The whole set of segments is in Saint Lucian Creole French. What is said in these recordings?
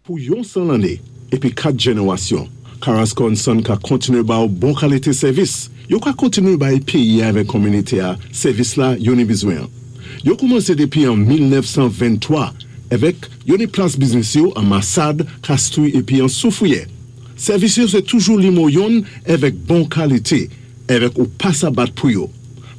Pou yon 100 lanné épi 4 jénéwasyon, Carrasco and Son ka kontinué ba ou bon kalité sèvis. Yo ka kontinué bay péyi-a avèk kominité-a sèvis la yo ni bizwen an. Yo koumansé dépi an 1923 avèk yo ni plas biznis yo an Masad, Kastri épi an Soufriyè. Sèvis yo sé toujou limo yonn avèk bon kalité avèk ou pa sa bat pou yo.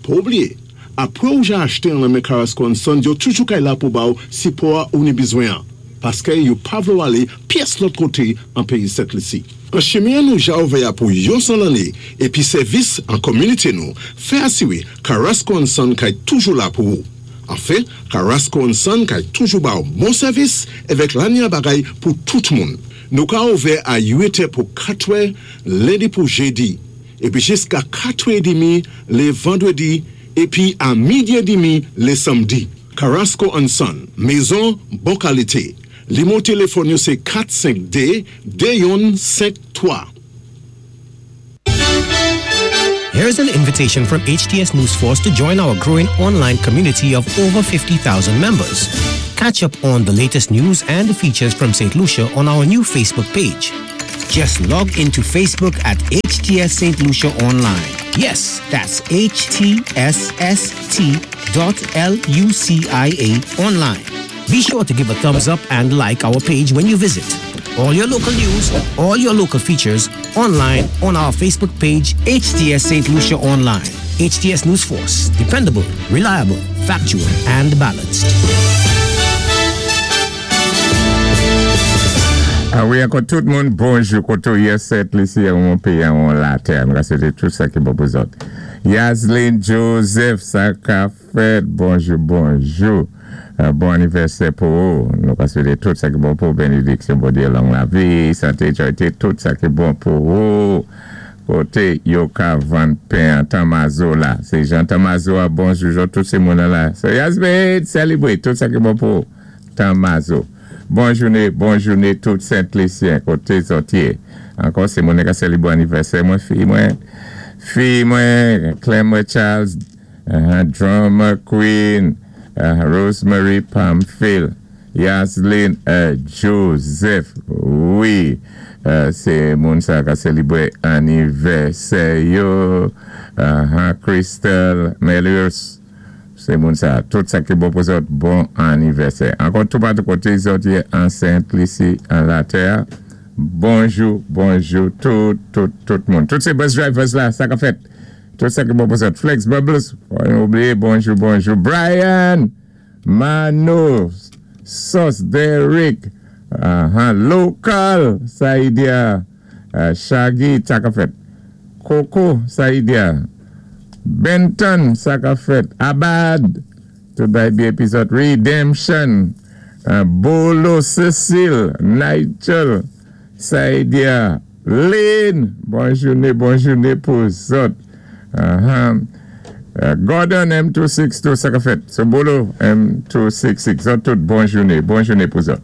Pa oubliyé, apwé ou ja achté an lan men Carrasco and Son yo toujou kay la pou ba ou sipò-a ou ni bizwen an. Paskè yo pa vlé ou alé pyès lòt koté an péyi Sent Lisi. An chimen an nou ja ouvè-a pou yon 100 lanné épi sèvis an kominité nou fè asiwé Carrasco and Son kay toujou la pou ou. Anfen, Carrasco and Son kay toujou ba ou bon sèvis avèk lanya bagay pou tout moun. Nou ka ouvè a 8 è pou 4 è lendi pou jédi épi jiska 4 è dimi lé vandwédi épi a midi é dimi lé sanmdi. Carrasco and Son, mézon bon kalité. Limo téléfòn yo sé 452 2153. Here's an invitation from HTS News Force to join our growing online community of over 50,000 members. Catch up on the latest news and features from St. Lucia on our new Facebook page. Just log into Facebook at HTS St. Lucia Online. Yes, that's HTSST.LUCIA online. Be sure to give a thumbs up and like our page when you visit. All your local news, all your local features, online on our Facebook page, HTS St. Lucia Online. HTS News Force, dependable, reliable, factual, and balanced. A wi, ankò tout moun, bonjou koté ou yé Sent Lisi an péyi an latè. Mwen ka swété tout sa ki bon pou zòt. Yaslin Joseph, sa ka fèt, bonjou, bonjou. Bon anivèsè pou ou. Nou ka swété tout sa ki bon pou bénédiksyon, Bondyé, long lavi, santé, joyté, tout sa ki bon pou ou. Koté yo ka vann pen an Tamazo la. Sé Jean Tamazo a, bonjou, jo tout sé moun an la. So Yasmin, celebrate tout sa ki bon pou ou. Tamazo. Bon jouné, bon jouné tout Sent Lisyen koté zòt yé. Ankò sé moun ka sélibwé anivèsè mwen fi mwen, fi mwen, Clemmer Charles, Drummer Queen, Rosemary Pamphile, Yaslin Joseph. Wi, sé moun sa ka sélibwé anivèsè yo. Crystal Melius. Sé moun sa, tout sa ki bon pou zòt, bon anivèsè. Ankò toupatou koté zòt yé an Sent Lisi, an latè, bonjou, bonjou, tout, tout, tout moun. Tout sé bus drivers la, sa ka fèt. Tout sa ki bon pou zòt. Flex Bubbles, pa oubliyé, bonjou, bonjou. Brian, Mano, Sos, Derrick, Local, Saidia, Shaggy, sa ka fèt. Coco, Saidia, Benton, sa ka fèt. Abad, tout bay byen épi zòt. Redemption, Bolo, Cecile, Nigel, Saidia, Lynn, bon jouné, bon jouné pou zòt. Gordon M262, sa ka fèt. So Bolo M266, zòt tout bon jouné, bon jouné pou zòt.